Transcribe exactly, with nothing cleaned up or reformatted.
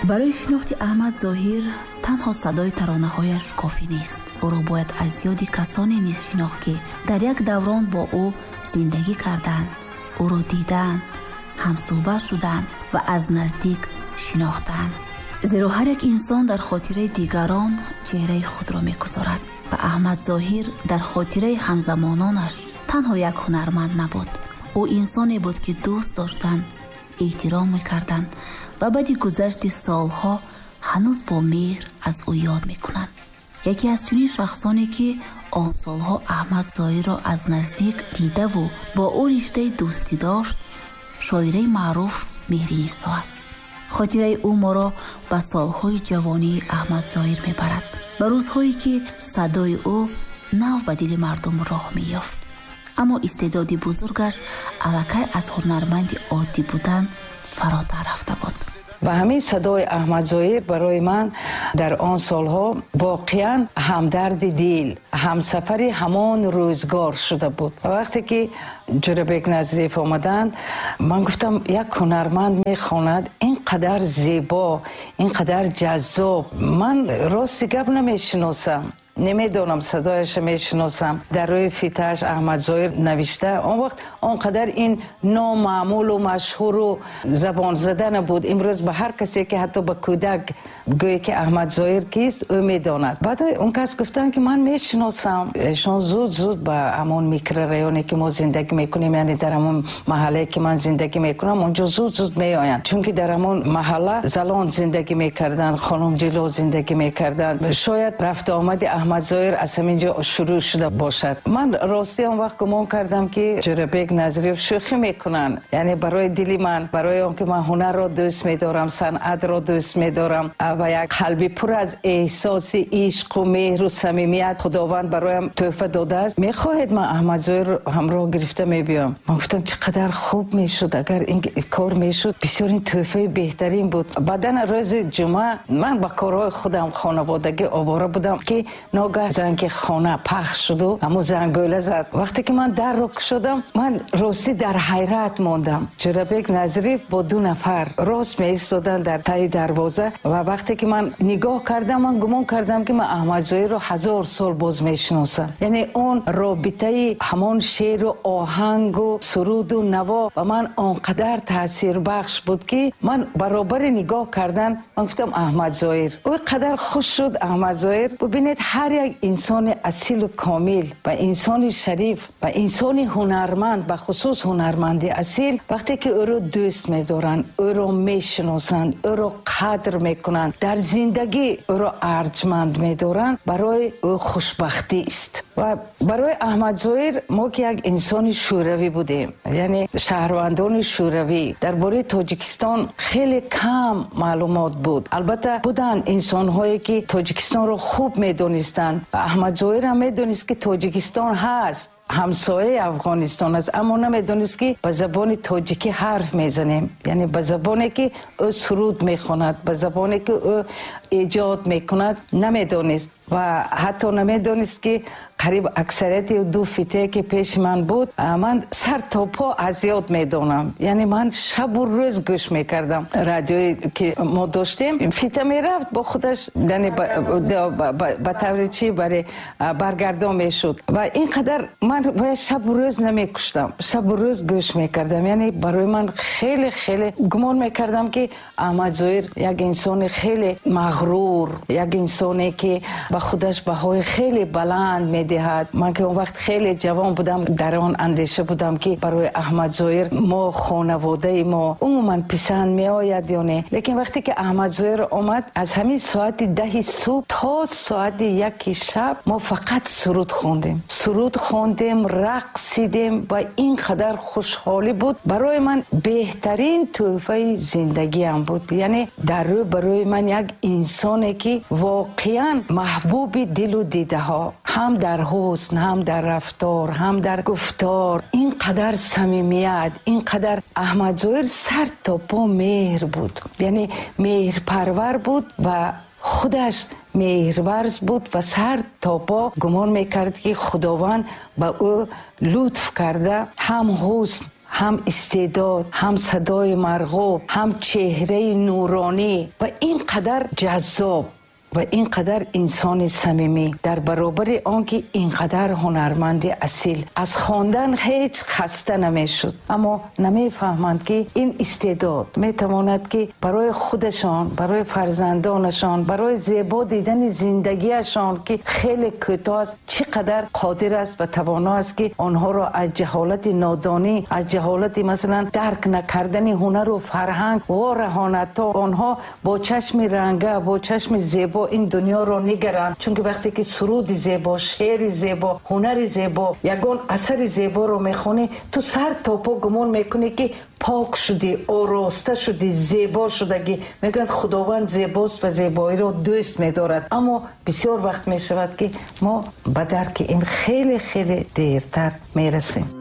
Барои шинохти Аҳмад Зоҳир танҳо садои таронаҳояш кофӣ нест. Ӯро бояд аз ёди касоне низ шинохт, ки дар як даврон бо ӯ зиндагӣ карданд, ӯро диданд, ҳамсӯҳбат шуданд ва аз наздик шинохтанд. Зеро ҳар як инсон дар хотираи дигарон чеҳраи худро мегузорад ва Аҳмад Зоҳир дар хотираи ҳамзамононаш танҳо як ҳунарманд набуд. Ӯ инсоне буд, ки дӯст доштанд, эҳтиром мекарданд ва баъди гузашти солҳо ҳанӯз бо меҳр аз ӯ ёд мекунанд. Яке аз чунин шахсоне, ки он солҳо Аҳмад Зоҳирро аз наздик дидаву бо ӯ риштаи дӯстӣ дошт, шоираи маъруф Меҳринисо аст. Хотираи ӯ моро ба солҳои ҷавонии Аҳмад Зоҳир мебарад, ба рӯзҳое, ки садои ӯ нав ба дили мардум роҳ меёфт. Аммо истеъдоди бузургаш аллакай аз ҳунарманди оддӣ будан фаротар рафта буд. Ва ҳамин садои Аҳмад Зоҳир барои ман дар он солҳо воқеан ҳамдарди дил, ҳамсафари ҳамон рӯзгор шуда буд. Ва вақте ки Ҷӯрабек Назриев омаданд, ман гуфтам, як ҳунарманд мехонад ин қадар зебо, ин қадар ҷаззоб. Ман рости гап намешиносам, намедонам, садояшро мешиносам. Дар рӯи фитааш Аҳмад Зоҳир навишта. Он вақт он қадар ин номаъмулу машҳуру забонзада набуд. Имрӯз ба ҳар касе, ки ҳатто ба кӯдак гӯе, ки Аҳмад Зоҳир кист, ӯ медонад. Баъд он кас гуфтанд, ки ман мешиносам. Эшон зуд зуд ба ҳамон микрорайоне, ки мо зиндагӣ мекунем, яъне дар ҳамон маҳаллае, ки ман зиндагӣ мекунам, онҷо зуд зуд меоянд, чунки дар ҳамон маҳалла залон зиндагӣ мекарданд, хонум ҷило зиндагӣ мекарданд. Шояд рафту омади Аҳмад Зоҳир аз ҳамин ҷо шурӯъ шуда бошад. Ман ростӣ он вақт гумон кардам, ки Ҷӯрабек Назриев шӯхӣ мекунанд, яъне барои дили ман, барои он ки ман ҳунарро дӯст медорам, санъатро дӯст медорам ва як қалби пур аз эҳсоси ишқу меҳру самимият Худованд бароям тӯҳфа додааст. Мехоҳед, ман Аҳмад Зоҳир ҳамроҳ гирифта мебиём. Ман гуфтам, чӣ қадар хуб мешуд, агар ин кор мешуд, бисёр ин тӯҳфаи беҳтарин буд. Баъдан рӯзи ҷумъа ман ба корҳои худам хонаводагӣ овора будам, ки ногаҳ занги хона пахш шуду ҳамун зангӯла зад. Вақте ки ман дарро кушодам, ман ростӣ дар ҳайрат мондам. Ҷӯрабек Назриев бо ду нафар рост меистоданд дар таи дарвоза ва вақте ки ман нигоҳ кардам, ман гумон кардам, ки ман Аҳмад Зоҳирро ҳазор сол боз мешиносам. Яъне он робитаи ҳамон шеъру оҳангу суруду наво ба ман он қадар таъсирбахш буд, ки ман баробари нигоҳ кардан ман гуфтам, Аҳмад Зоҳир. Ӯ қадар хуш шуд Аҳмад Зоҳир. Бубинед, ҳар як инсони асилу комил ва инсони шариф ва инсони ҳунарманд, ба хусус ҳунарманди асил, вақте ки ӯро дӯст медоранд, ӯро мешиносанд, ӯро қадр мекунанд, дар зиндагӣ ӯро арҷманд медоранд, барои ӯ хушбахтӣ аст. Ва барои Аҳмад Зоҳир, мо ки як инсони шӯравӣ будем, яъне шаҳрвандони шӯравӣ, дар бораи Тоҷикистон хеле кам маълумот буд. Албатта, буданд инсонҳое, ки Тоҷикистонро хуб медонистанд. Аҳмад Зоҳир ҳам медонист, ки Тоҷикистон ҳаст, ҳамсояи Афғонистон аст, аммо намедонист, ки ба забони тоҷикӣ ҳарф мезанем, яъне ба забоне, ки ӯ суруд мехонад, ба забоне, ки ӯ эҷод мекунад, намедонист ва ҳатто намедонист, ки қариб аксарияти ду фитае, ки пеши ман буд, ман сар то по аз ёд медонам. Яъне ман шабу рӯз гӯш мекардам. Радиое, ки мо доштем, фита мерафт бо худаш, яъне ба таври чӣ баре баргардон мешуд ва ин қадар ман бояд шабу рӯз намекуштам, шабу рӯз гӯш мекардам. Яъне барои ман хеле хеле гумон мекардам, ки Аҳмад Зоҳир як инсони хеле мағрур, як инсоне, ки ба худаш баҳои хеле баланд медиҳад. Ман ки он вақт хеле ҷавон будам, дар он андеша будам, ки барои Аҳмад Зоҳир мо, хонаводаи мо умуман писанд меояд ё не. Лекин вақте ки Аҳмад Зоҳир омад, аз ҳамин соати даҳи субҳ то соати яки шаб мо фақат суруд хондем, суруд хондем, рақсидем ва ин қадар хушҳолӣ буд. Барои ман беҳтарин тӯҳфаи зиндагиам буд. Яъне дар рӯ барои ман як инсоне, ки воқеан маҳбуби дилу дидаҳо, ҳам дар ҳусн, ҳам дар рафтор, ҳам дар гуфтор, ин қадар самимият, ин қадар Аҳмад Зоҳир сар то по меҳр буд, яъне меҳрпарвар буд ва худаш меҳрварз буд ва сар то по гумон мекард, ки Худованд ба ӯ лутф карда, ҳам ҳусн, Ҳам истеъдод, ҳам садои марғуб, ҳам чеҳраи нуронӣ ва ин қадар ҷаззоб ва ин қадар инсони самимӣ, дар баробари он ки ин қадар ҳунарманди асил, аз хондан ҳеҷ хаста намешуд. Аммо намефаҳманд, ки ин истеъдод метавонад, ки барои худашон, барои фарзандонашон, барои зебо дидани зиндагиашон, ки хеле кӯтоҳ аст, чӣ қадар қодир аст ва тавоно аст, ки онҳоро аз ҷаҳолати нодонӣ, аз ҷаҳолати масалан дарк накардани ҳунару фарҳанг вораҳонад, то онҳо бо чашми ранга, бо чашми зебо ин дунёро нигаранд. Чунки вақте ки суруди зебо, шеъри зебо, ҳунари зебо, ягон асари зеборо мехонӣ, ту сар то по гумон мекунӣ, ки пок шудӣ, ороста шудӣ, зебо шудагӣ. Мегӯянд, Худованд зебост ва зебоиро дӯст медорад. Аммо бисёр вақт мешавад, ки мо ба дарки ин хеле хеле дертар мерасем.